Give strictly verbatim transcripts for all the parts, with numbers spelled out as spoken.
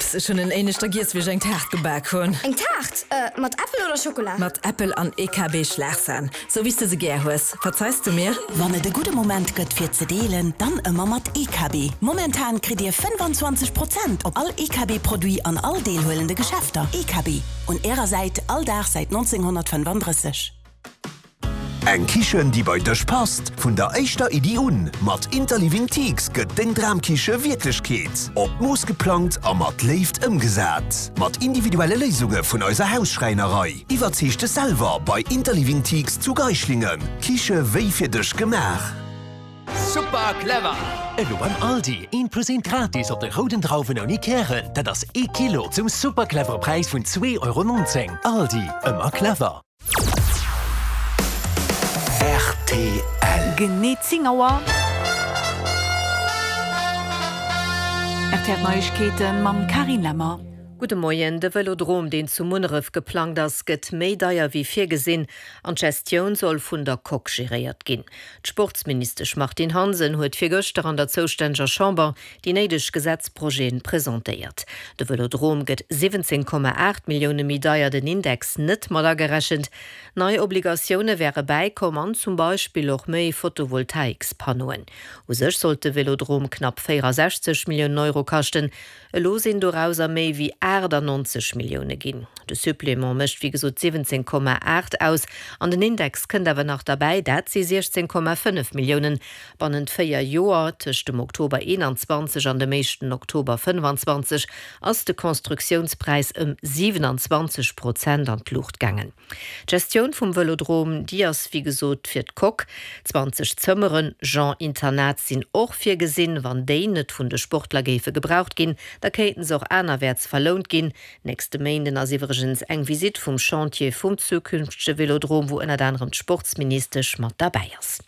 Max, ech hunn en éineschter giess, wéi ech eng Taart gebak hunn. Eng Taart? Mat Äppel oder Schokola? Mat Äppel an E K B Schlagsahn. Sou wéi s de se gär hues. Verzeis du mir? Wann et e gudde Moment gëtt fir ze deelen, dann ëmmer mat E K B. Momentan kritt Dir fënnwanzwanzeg Prozent op all E K B Produit an all deelhuelende Geschäfter. E K B, un Ärer Säit all Dag säit nonzénghonnertfënnefandrësseg. Eng Kichen, déi bei dech passt, vun der éischter Iddi un. Mat Interliving Teaks gëtt deng Dramkiche Wierklechkeet. Op d'Mooss geplangt a mat Léift ëmgesat. Mat individuelle Léisunge vun eiser Hausschräinerei. Iwwerzeeg dech selwer bei Interliving Teaks zu Geislingen. Kiche wéi fir dech gemaach. Super clever! Elo beim Aldi, een plus een gratis op de rouden Drauwen ouni Kären. Dat ass ee Kilo zum super clevere Präis vun zwee Euro nonzéng. Aldi, ëmmer clever. R T L. Genee zéng Auer. R T L Neiegkeeten mam Carine Lemmer. Gudde Moien. De Vëlodrom, deen zu Munneref geplangt ass, gëtt méi deier wéi virgesinn an d'Gestioun soll vun der Coque geréiert ginn. D'Sportsministesch Martine Hansen huet virgëschter an der zoustänneger Chamber déi néideg Gesetzprojeten presentéiert. De Vëlodrom gëtt siwwenzéng Komma aacht Millioune méi deier, den Index net mat agerechent. Nei Obligatioune wäre bäikomm an zum Beispill och méi Photovoltaikspannoen. U sech sollt de Vëlodrom knapp véierasechzeg Milliounen Euro kaschten, elo sinn dorauser méi wéi aachtannonzeg Millioune ginn. De Supplément mécht wéi gesot siwwenzéng Komma aacht aus an den Index kënnt awer nach derbäi, dat si siechzéng Komma fënnef Milliounen. Bannent véier Joer, tëscht dem Oktober eenanzwanzeg an dem éischten Oktober fënnfanzwanzeg, ass de Konstruktiounspräis ëm siwenanzwanzeg Prozent an d'Luucht gaangen. D'Gestioun vum Vëlodrom, déi ass wéi gesot fir d'Coque. Zwanzeg Zëmmeren, genre Internat, sinn och virgesinn. Wann déi net vun de Sportler géife gebraucht ginn, da kéinten se och anerwäerts verlount ginn. Nächste Méinden ass iwwregens eng Visitt vum Chantier vum zukünftege Vëlodrom, wou ënnert anerem d'Sportsministesch mat derbäi ass.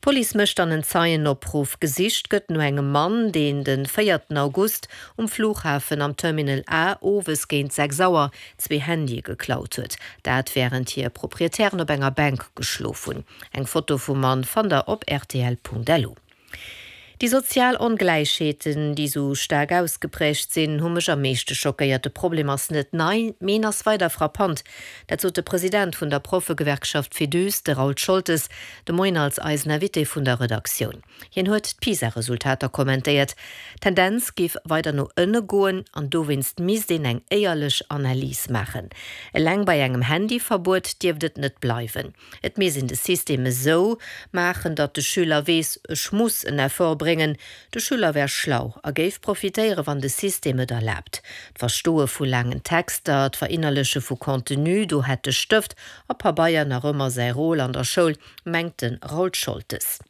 D'Police mécht dann en Zeienopruff. Gesicht gëtt no engem Mann, deen de véierten August um Flughafen am Terminal A owes géint sechs Auer zwee Handye geklaut huet. Dat wärend hir Proprietären op enger Bänk geschlof hunn. Eng Foto vum Mann fannt der op R T L Punkt L U. Déi sozial Ongläichheeten, déi sou staark ausgepräägt sinn, hu mech am meeschte schockéiert. De Problem ass net nei, mee en ass weider frappant. Dat sot de President vun der Proffegewerkschaft Féduse, de Raoul Scholtes, de Moien als eisen Invité vun der Redaktioun. Hien huet d'PISA-Resultater kommentéiert. D'Tendenz géif weider no ënne goen an dowéinst misst een eng éierlech Analys maachen. Eleng bei engem Handyverbuet dierft et net bleiwen. Et misst een de System esou maachen, datt de Schüler weess, ech muss en Effort bréngen. De Schüler wär schlau a géif profitéieren, wann de System et erlaabt. D'Verstoe vu laangen Texter, d'Verinnerleche vu Contenu, do hätt de Stëft a Pabeier nach ëmmer säi Rôle an der Schoul, mengt de Raoul Scholtes.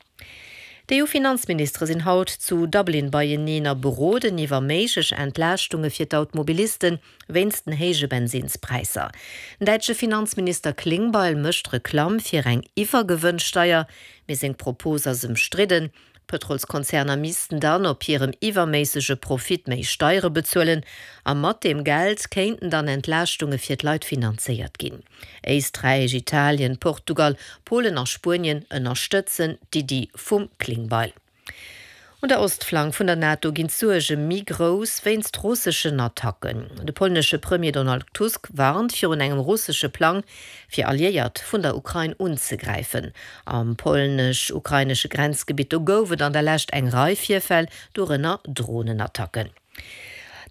D'E U-Finanzministere sinn haut zu Dublin beieneen a beroden iwwer méiglech Entlaaschtunge fir d'Automobilisten wéinst den héije Bensinnspräisser. Den däitsche Finanzminister Klingbeil mécht Reklamm fir eng Iwwergewënnsteier, mee seng Propos ass ëmstridden. D'Pëtrolskonzerner missten dann op hirem iwwerméissege Profit méi Steiere bezuelen a mat deem Geld kéinten dann Entlaaschtunge fir d'Leit finanzéiert ginn. Éisträich, Italien, Portugal, Polen a Spuenien ënnerstëtzen d'Iddi vum Klingbeil. Un der Ostflank vun der NATO ginn d'Suerge méi grouss wéinst russeschen Attacken. De polnesche Premier Donald Tusk warnt virun engem russesche Plang, fir Alliéiert vun der Ukrain unzegräifen. Am polnesch-ukrainesche Grenzgebitt do gouf et an der Lescht eng Rei Virfäll, dorënner Dronenattacken.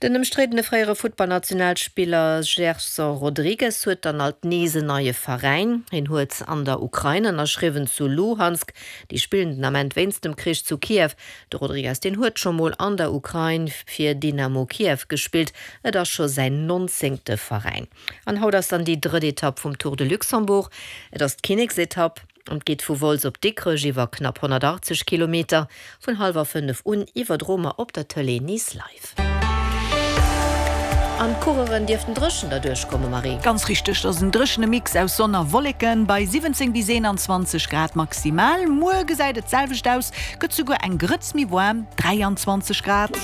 Den ëmstriddene fréiere Futtballnationalspiller Gerson Rodrigues huet dann alt nees en neie Veräin. Hien huet an der Ukrain ënnerschriwwen, zu Luhansk. Déi spillen den Ament wéinst dem Krich zu Kiew. De Rodrigues, deen huet scho mol an der Ukrain fir Dynamo Kiew gespillt. Et ass scho säin nonzéngte Veräin. An haut ass dann déi drëtt Etapp vum Tour de Luxembourg. Et ass d'Kinneksetapp an geet vu Wolz op Dikrech iwwer knapp honnertachtzeg Kilometer. Vun hallwer fënnef un iwwerdroe mer op der Tëlee nees live. An d'Coureuren dierften dréchen derduerch kommen, Marie. Ganz richteg, dat ass en dréchene Mix aus Sonn a Wolleken bei siwwenzéng bis eenanzwanzeg Grad maximal. Muer gesäit et d'selwecht aus, gëtt souguer eng Grëtz méi waarm, dräianzwanzeg Grad.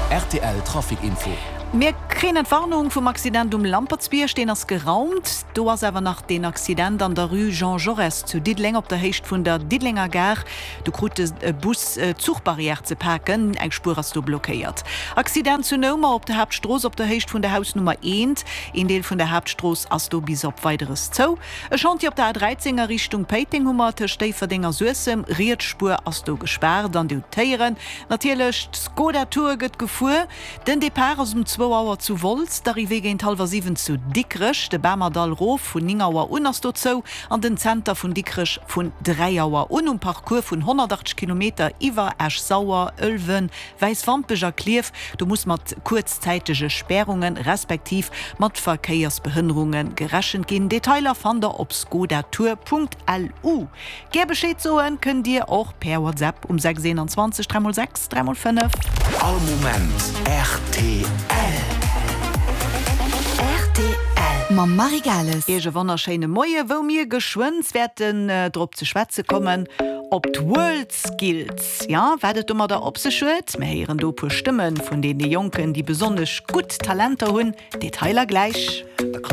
R T L Trafic Info. Mir kréien Entwarnung vum Accident um Lampertsbierg, deen ass geraumt. Do ass awer nach deen Accident an der Rue Jean Jaurès zu Diddeleng op der Héicht vun der Diddelenger Gare. Do krut e Bus d'Zuchbarrière ze paken, eng Spuer ass do blockéiert. Accident zu Noumer op der Haaptstrooss op der Héicht vun der Hausnummer eent. Een Deel vun der Haaptstrooss ass do bis op Weideres zou. E Chantier op der A dräizéng a Richtung Péiteng hu mer tëscht Déifferdeng a Suessem. Riets Spuer ass do gespaart an Dir hutt d'Héieren natierlech, d'Skoda Tour gëtt gefuer. Den Depart ass um zwou Auer zu Wolz, d'Arrivée géint hallwer siwen zu Dikrech. De Bamerdall rof vun néng Auer un ass do zou an den Zenter vun Dikrech vun dräi Auer un. Um Parcours vun honnertachtzeg Kilometer iwwer Esch-Sauer, Ëlwen, Wäiswampech a Klierf, do muss mat kuerzzäitege Spärunge respektiv mat Verkéiersbehënnerunge gerechent ginn. Detailer fannt der op skodatour.lu. Gär Bescheed soen kënnt Dir och per WhatsApp um sechs eenanzwanzeg dräi mol sechs dräi mol fënnef. All Moment rtl. Rtl mam Marie Gales. Iech e wonnerschéine Moie wou mir geschwënn wäerten drop ze schwätze kommen op d'Worldskills. Jo, wat et domadder op sech huet? Mir héieren do e puer Stëmme vun deene Jonken, déi besonnesch gutt Talenter hunn. Detailer gläich.